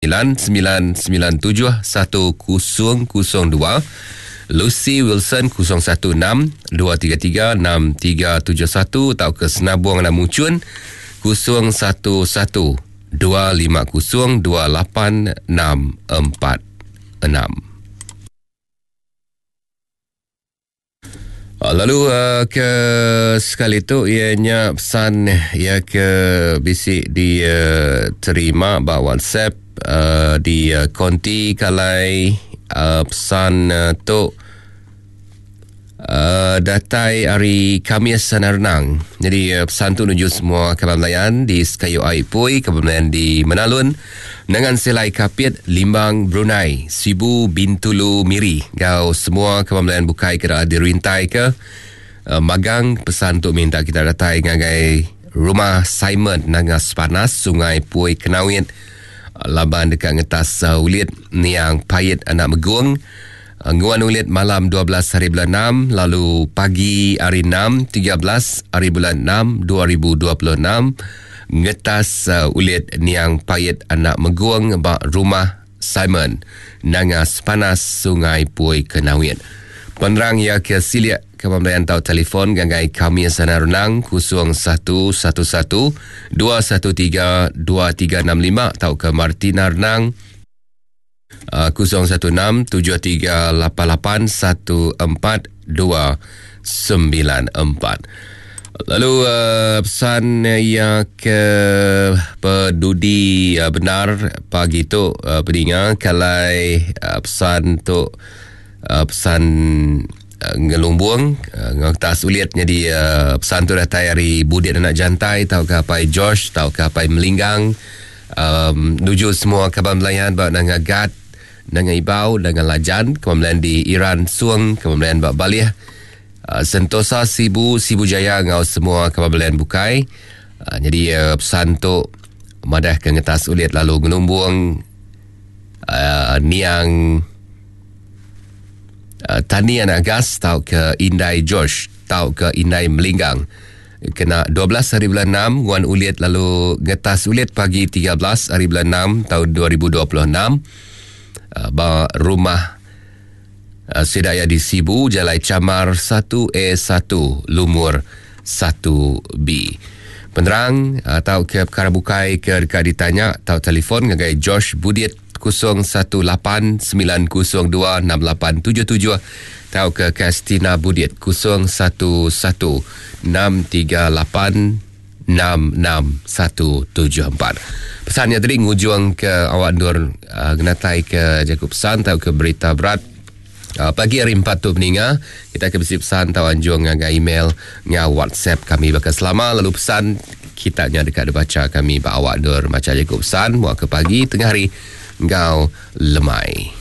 997 1002, Lucy Wilson 016 233 6371 tauka Senabong Anak Muchun 011 250 28646. Ah, lalu uh, ke sekali tu iya nya pesan iya ke bisi diterima uh, ba WhatsApp uh, di uh, konti kalai uh, pesan uh, tu uh, datai hari Kamis Sanarnang. Jadi uh, pesan tu nuju semua kaban belayan di Sekayu Ai Pui, kaban belayan di Menalun, Nengan Selai Kapit, Limbang, Brunei, Sibu, Bintulu, Miri enggau semua kaban belayan bukai ke dah dirintai ke uh, magang pesan tu minta kita datai ngagai rumah Simon Nanga Sepanas, Sungai Pui Kenawit uh, laban deka ngetas uh, ulit niang Pait Anak Megung nguan ulit malam 12 hari bulan 6 lalu pagi hari 6 13 hari bulan 6 2026 ngetas uh, ulit niang pait anak megung ba rumah Simon Nanga Sepanas Sungai Pui Kenawit. Penerang ia ke silik ke pembelian tau telefon ngagai kami sana renang 0111 213 2365 tau ke Martina Renang 016 7388 1494. Lalu uh, pesan yang ke pedudi uh, benar pagi tu uh, peninga kalai uh, pesan tu uh, pesan uh, ngelumbung uh, ngetas ulit jadi uh, pesan tu datai hari Budit anak Jantai tau ke apai George tau ke apai Melinggang um, nuju semua kaban belayan ba Nanga Gat, Nanga Ibau, Nanga Lajan, kaban belayan di Iran Suang, kaban belayan ba Balih, uh, Sentosa Sibu, Sibu Jaya ngau semua kaban belayan bukai. Uh, jadi uh, pesan tu madah ke ngetas ulit lalu ngelumbung uh, niang uh, Tani Anak Gas tau ke Indai George tau ke Indai Melinggang kena 12 hari bulan 6 nguan ulit lalu ngetas ulit pagi 13 hari bulan 6 tahun 2026 uh, ba rumah uh, Sidaya di Sibu Jalai Camar 1A1 Lumur 1B. Penerang atau ke perkara bukai ke dekat ditanya atau telefon ngagai George Budit 0189026877 atau ke Kastina Budit 011638 66174. Pesannya tadi ngujung ke awak nur uh, ngenatai ke jaku pesan atau ke berita berat uh, pagi hari 4 tu peninga kita ke bisi pesan atau anjung ngagai email ngau WhatsApp kami bakal selama lalu pesan kita nya dekat dibaca kami ba awak nur maca jaku pesan buat ke pagi tengah hari ngau lemai.